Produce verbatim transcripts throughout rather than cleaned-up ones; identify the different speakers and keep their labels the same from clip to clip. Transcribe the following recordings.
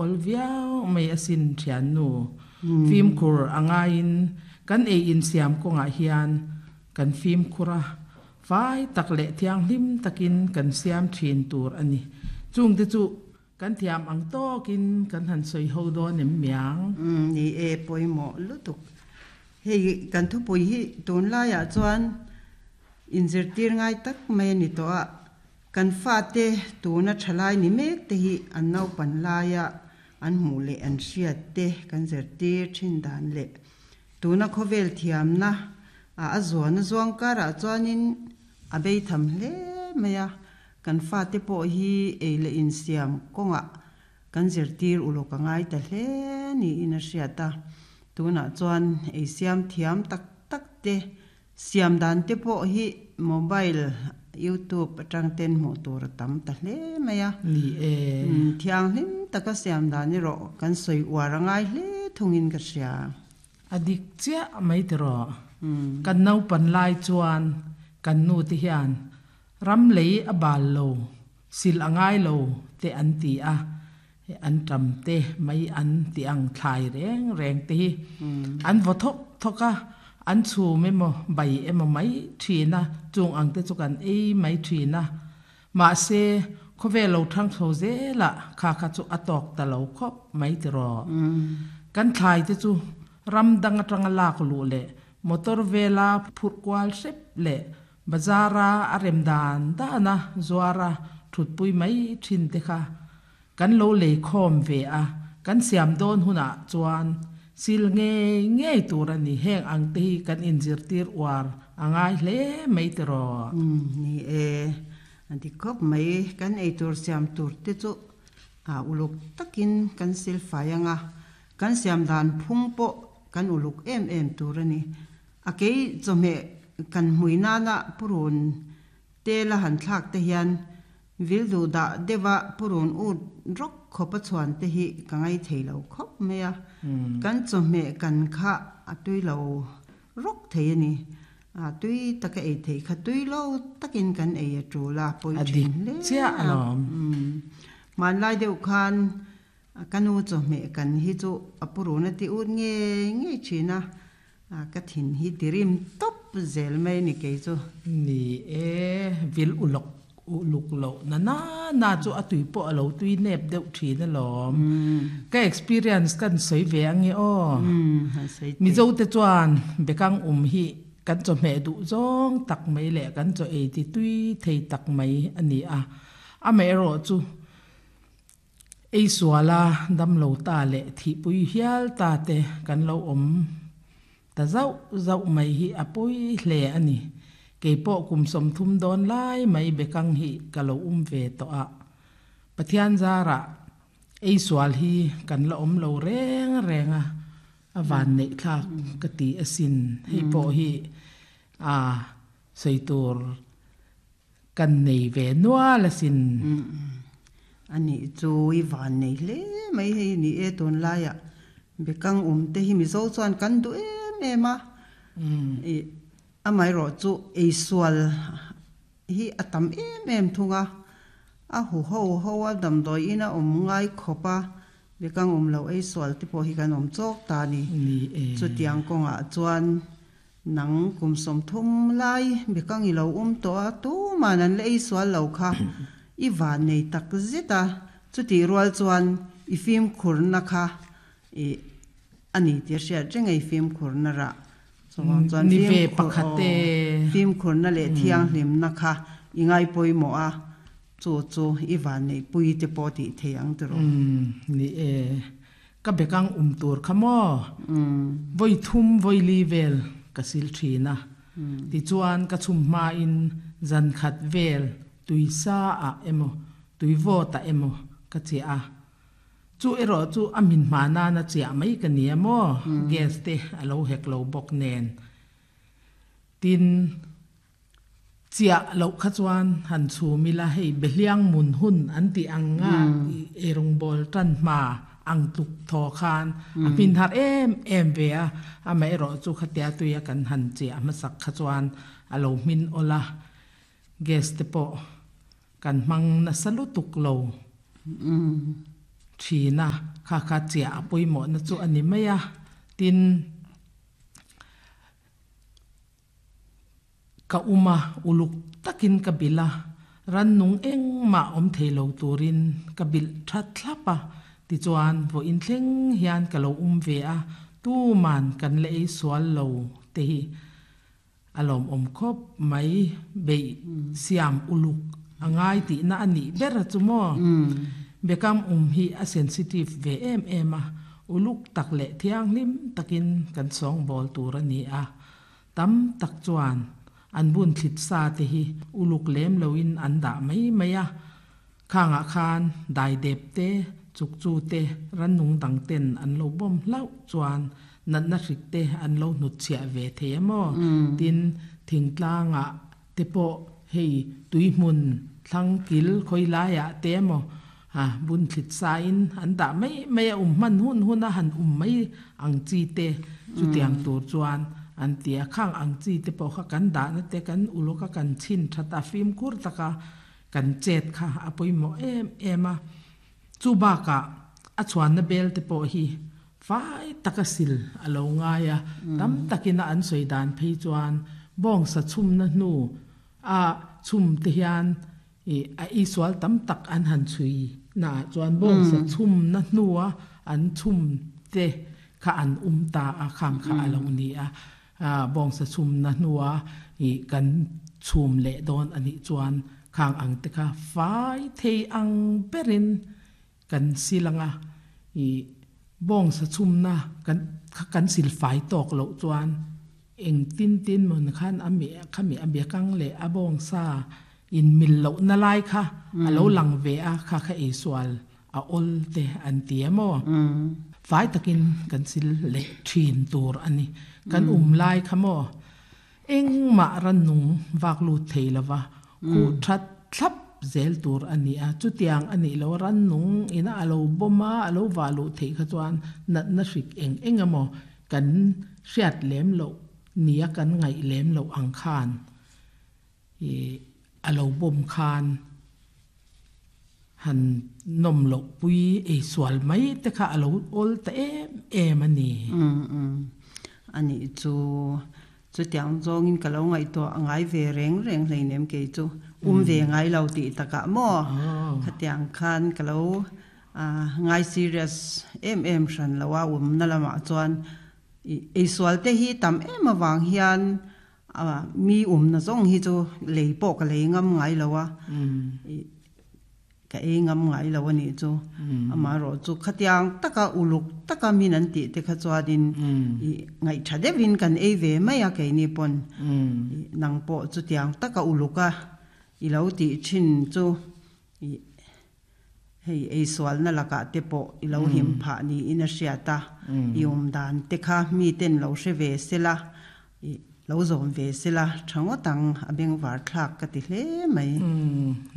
Speaker 1: awl viau mai asin thiannu. Fimkhur a ngaiin kan ei insiam kawngah hian kan fimkhur a, fai tak leh thianghlim takin kan siam thin tur a ni. Chungte chu kan thiam ang tawkin kan han sawi ho dawn em miang?
Speaker 2: Umm ni e, pawimawh lutuk. Hei kan thupui hi tunlaiah chuan inzirtir ngai tak mai a ni tawh a, kan fate tuna thalai ni mek te hi an naupan laia an hmuh leh an hriat te kan zirtir thin dan leh tuna khawvel thiamna a a zuan a zuang karah chuanin a bei tham hle mai a, kan fate pawh hi ei leh insiam kawngah kan zirtir ulawk a ngai ta hle niin a hriat a. Tunah chuan ei siam thiam tak tak te, siam dan te pawh hi mobile, youtube atang ten hmuh tur a tam ta hle mai a.
Speaker 1: Ni e.
Speaker 2: Thianghlim taka siam dan erawh kan sawi uar a ngai hle thungin ka hria.
Speaker 1: A dik chiah mai tiraw. Kan naupan lai chuan kan nu te hian ram lei a bal lo, sil a ngai lo te an ti a, an ṭam te mai an ti ang thlai reng reng te hi an vaw thawk thawk a, an chhum emaw bai emaw mai ṭhin a, chung ang te chu kan ei mai ṭhin a. Mahse, khawvel lo thang chho zelah kha kha chu a tawk ta lo khawp mai tiraw. Kan thlai te chu ram dang atanga lak luh leh motor vela phurh kual hrep leh bazara a rem dan dana zuara thutpui mai thin te kha kan lo lei khawm ve a, kan siam dawn hunah chuan sil ngei ngei tur a ni. Heng ang te hi kan inzirtir uar a ngai hle mai tiraw.
Speaker 2: Umm ni e, a dik khawp mai. Kan eitur siam tur te chu a uluk takin kan sil fai ang a, kan siam dan phung pawh kan uluk em em tur a ni. A kei chawhmeh kan hmui nana purun te la han thlak te hian vil duh dah deuha purun ut rawk khawpa chhuan te hi ka ngai thei lo khawp mai a. Kan chawhmeh kan kha a tui lo rawk thei a ni. A tui taka ei theih kha tui lo takin kan ei a tul a, pawi
Speaker 1: A
Speaker 2: thin
Speaker 1: dik
Speaker 2: hle
Speaker 1: chiah
Speaker 2: a.
Speaker 1: alawm.
Speaker 2: Hmanlai deuh khan ka nu chawhmeh kan hi chu a purun a ti ut ngei ngei thin a, ka thin hi tirim tawp zel mai a ni kei chu.
Speaker 1: Ni e, vil ulawk uluk loh na na na chu a tui pawh a lo tui nep deuh thin alawm. Ka experience kan sawi ve ange aw. Mizo te chuan bekang um hi kan chawhmeh duh zawng tak mai leh kan chaw ei ti tui thei tak mai a ni a. Amaherawh chu ei suala dam lo ta leh thihpui hial ta te kan lo awm ta zauh zauh mai hi a pawi hle a ni. Kei pawh kum sawmthum dawn lai mai bekang hi ka lo um ve tawh a. Pathian zarah ei sual hi kan la awm lo reng reng a, a van neih thlak ka ti asin. Hei pawh hi a sawi tur kan nei ve nual asin.
Speaker 2: A nih chu i van nei hle mai hei ni e tunlaiah bekang um te hi Mizo chuan kan duh em em a. Ih amaherawh chu eisual hi a tam em em thung a, a hu ho ho a damdawi in a awm ngai khawp a, bekang awm lo eisual te pawh hi kan awm chawk ta a ni.
Speaker 1: Ni e.
Speaker 2: Chutiang kawngah chuan nang kum sawmthum lai bekang i lo um tawh a, tuman an la eisual lo kha i van nei tak zet a, chutih rual chuan i fimkhurna kha ih a ni tih a hriat reng a, i fimkhurna rah chuvang chuan
Speaker 1: Ni ve
Speaker 2: fimkhur
Speaker 1: pakhat
Speaker 2: aw
Speaker 1: e.
Speaker 2: fimkhurna leh thianghlimna kha i ngaipawimawh a, chu chu i vanneihpui te pawh tih thei ang tiraw.
Speaker 1: Umm ni e, ka bekang um tur kha maw? Vawi thum vawi li vel ka sil thin a, tichuan ka chhum hmain zan khat vel tui sa ah emaw tui vawt ah emaw ka chiah a, Chu erawh chu a min hma nana chiah mai ka nia maw? Gas te a lo hek lo bawk nen. Tin, chiah loh kha chuan han chhum ila hei Behliang mun hun an tih ang nga eirawngbawl tan hma ang tluk thaw khan a hmin har em em ve a, amaherawh chu khatia tuia kan han chiah hmasak kha chuan a lo hmin awlh a, gas te pawh kan hmang nasa lutuk lo. Thina kha kha chia pawimawh na chu ani mai a tin ka uma uluk takin ka bila ran nung eng ma om theilo turin ka bil that thlapa ti chuan vo in thleng hian ka lo um ve a tu man kan le ei sual lo te hi alom om khop mai bei siam uluk angai ti na ani ber chu mo bekam um hi a sensitive ve em em a uluk tak le thiang lim takin kan song bol tur ani a tam tak chuan an bun thlit sa te hi uluk lem loin an da mai mai a khanga khan dai dep te chuk chu te ran nung dang ten an lo bom hlau chuan nat na hrik te an lo hnut chhia ve the mo tin thingtlanga te po hei tuihmun thlang kil khoilaya te mo ha bun thlit sa in an da mai mai a um man hun hun a han um mai ang chi te chu tiang tur chuan an tia khang ang chi te po kha kan da na te kan uloka kan chin thata fim kur taka kan chet kha apoi mo em em a chu ba ka a chuan na bel te po hi fai taka sil alo nga ya tam takina an soi dan phei chuan bong sa chum na nu a chum te hian e a iswal tam tak an han chui na chuan bong sa chum na nuwa an chum te kha an um ta a khang kha alo ni a bong sa chum na nuwa i kan chum le don ani chuan khang ang te kha fai thei ang berin kan silanga i bong sa chum na kan kan sil fai tok lo chuan eng tin tin mon khan ami khami abia kang le abong sa in mil lo na lai kha alo lang ve a kha kha e sual a ol te an ti mo fai takin kan sil le thin tur ani kan um lai kha mo eng ma ran nung wak lu theilawa khu that thlap zel tur ani a chutiang ani lo ran nung ina alo boma alo walu thei kha chuan nat na hrik eng eng amo kan hriat lem lo nia kan ngai lem lo ang khan e alo bom khan han nom lo pui e sual mai te kha alo ol ta em em ani
Speaker 2: um um ani chu chu tiang zong in ka lo ngai to angai ve reng reng hlei nem ke chu um ve ngai lo ti taka mo kha tiang khan ka lo a ngai serious em em hran lawa um na lama chuan e sual te hi tam em awang hian a mi um na zong hi chu lei po ka lei ngam ngai lowa ka e ngam ngai lo ani chu ama ro chu khatiang taka uluk taka min an ti te kha chuanin i ngai thadevin kan e ve mai a ke ni pon nang po chu tiang taka uluka i lo ti chin chu i hei ei sual na laka te po i lo him pha ni in a hriata i um dan te kha mi ten lo hre ve sela i lo zom ve sela thango tang abeng war thlak ka ti hle mai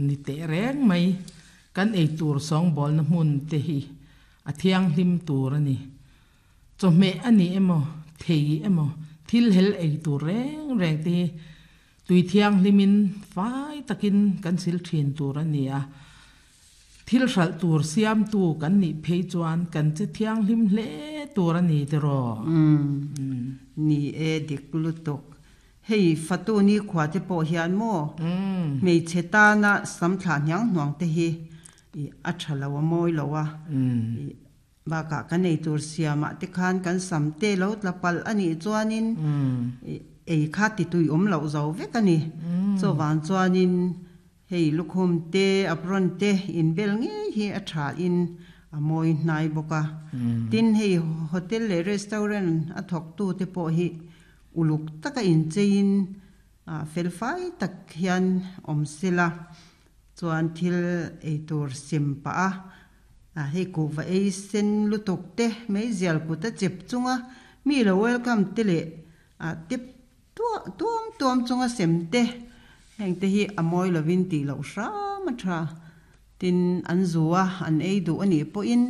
Speaker 1: ni te reng mai kan ei tur song bol na mun te hi a thiang hlim tur ani cho me ani emo thei emo thil hel ei tur reng reng te tui thiang hlimin fai takin kan sil thin tur ani a thil hral tur siam tu kan ni phei chuan kan che thiang hlim hle tur ani te ro
Speaker 2: ni e dik lu tok hei fatu ni khwa te po hian mo mei cheta na samthla nyang nuang te hi i a thalawa moi lowa ba ka kan ei tur siama te khan kan samte lo tlapal ani chuanin ei kha ti tui om lo zo vek ani cho wan chuanin hei lukhum te apron te in bel nge hi a tha in a moi hnai boka tin hei hotel le restaurant a thok tu te po hi uluk taka in chein a felfai tak hian om sela chuan thil ei tur sim pa a a hei ku va ei sen lutuk te mei zial ku ta chep chunga mi lo welcome te le a tip tuam tuam tuam chunga sem te heng te hi amoi lovin ti lo sha ma tha tin an zuwa an ei du ani po in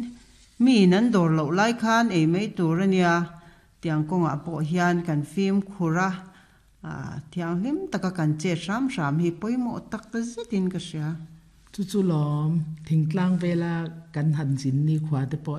Speaker 2: mi nan dor lo lai khan ei mei tur ania tiang konga po hian kan fim khura a thiang hlim taka kan che ram ram hi poimo tak ta zetin ka sia
Speaker 1: Chu chu lawm thingtlang vela kan han zin ni khua te pawh.